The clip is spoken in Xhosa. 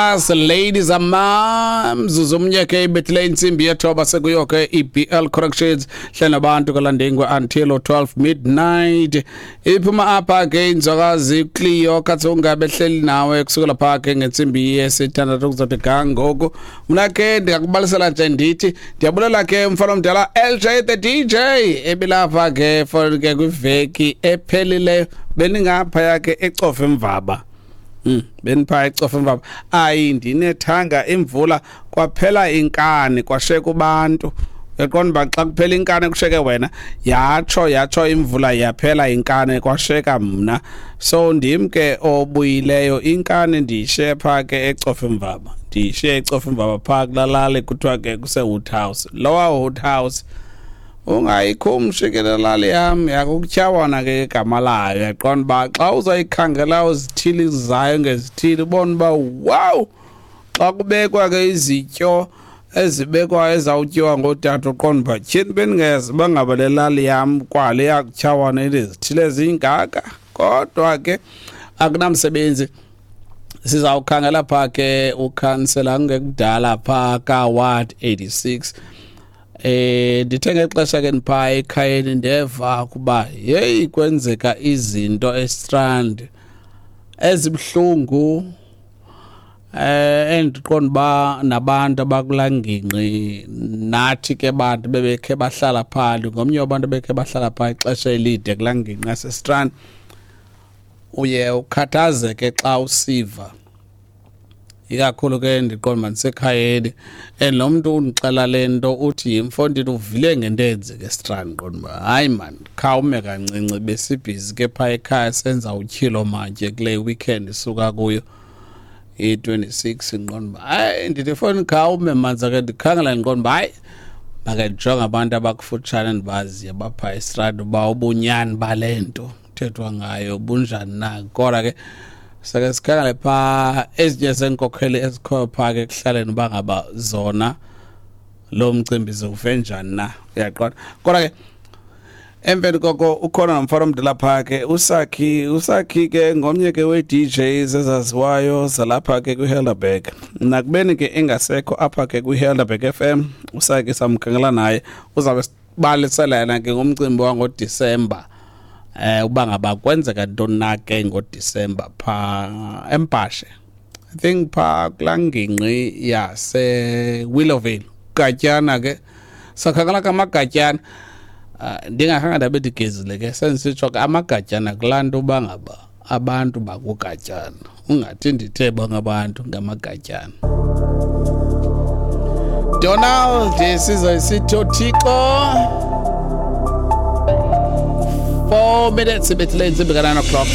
As ladies and ma'ams, umnye ke ibethile intsimbi yethoba sekuyo ke iBL Corrections hlala nabantu kalandengwe until 12 midnight. Iphuma apha ke inzwakazi Cleo Katsonga behleli nawe kusukela pha ke ngentsimbi yesithandathu kuzothi ga ngoku. Mna ke ndingakubalisela nje ndithi ndiyabulela ke mfana omdala LJ the DJ ebilapha ke for ke kwiveki ephelileyo beningapha ke ecofa emvaba. Benipha ecofa emvaba. Ayi ndinethanga imvula kwaphela inkani kwasheka kubantu. Uyaqonda uba xa kuphela inkani kusheke wena yatsho imvula yaphela inkani kwasheka mna. So ndim ke obuyileyo inkani ndiyishiye pha ke ecofa emvaba. Ndiyishiye ecofa emvaba pha kulalali kuthiwa ke kuse Woodhouse. Lowa Woodhouse ungayikhumshi ke lali yam yakukutyhawana ke igama layo. Uyaqonda uba xa uzayikhangela uzithili zayo ngezithili ubone uba wow, xa kubekwa ke izityo ezibekwa ezawutyiwa ngootata uqonda uba tyhini bendingeze uba ngaba le lali yam kwale yakutyhawana inezithili ezingaka. Kodwa ke akunamsebenzi, sizawukhangela pha ke ukhansela kungekudala pha ka-ward 86. Ndithe ngexesha ke ndipha ekhayeni ndeva kuba yeyi kwenzeka izinto eStrand ezibuhlungu, endiqonda uba nabantu abakulaa ngingqi nathi ke bantu bebekhe bahlala phaa, ngomnye wabantu bekhe bahlala phaa ixesha elide kulaa ngingqi yaseStrand. Uye ukhathazeke xa usiva, ikakhulu ke ndiqonda uba ndisekhayeni and lo mntu undixela le nto uthi yimfondini uvile ngento eyenzeka eStrand. Ndiqonda uba hayi maan, khawume kancinci, besibhizi ke phaa ekhaya senza utyhilo mantye kule weekend isuka kuyo i-26. Ndiqonda uba hayi, ndithi fowuni khawume manza ke ndikhangela, ndiqonda uba hayi make ndijonge abantu abakufutshane endibaziyo baphaa eStrand uba ubunyani bale nto kuthethwa ngayo bunjani na. Kodwa ke sake sikhangele phaa ezinye zeenkokheli ezikhoyo phaa ke ekuhlaleni uba ngaba zona lo mcimbi ziwuve njani na, uyaqonda. Kodwa ke emveni koko ukhona nomfana omdala phaa ke usakhi ke ngomnye ke wee-DJs ezaziwayo zalapha ke kwiHelderberg. Nakubeni ke engasekho apha ke kwiHelderberg FM, usakhi samkhangela naye uzawube sibalisela yena ke ngomcimbi wangoDisemba. Uba ngaba kwenzeka ntoni na ke ngoDisemba phaa eMpashe, I think phaa kulaa ngingqi yase Willowvale. Gatyana ke sakhangela ke amagatyana, ndingakhange ndabe ndigezile ke sendisitsho ke amagatyana kulaa nto uba ngaba abantu bakugatyana, ungathi ndithe bonke abantu ngamagatyana. Donald sizoyisithi uThixo 4 minutes ibethile intsimbi ka-9 o'clock.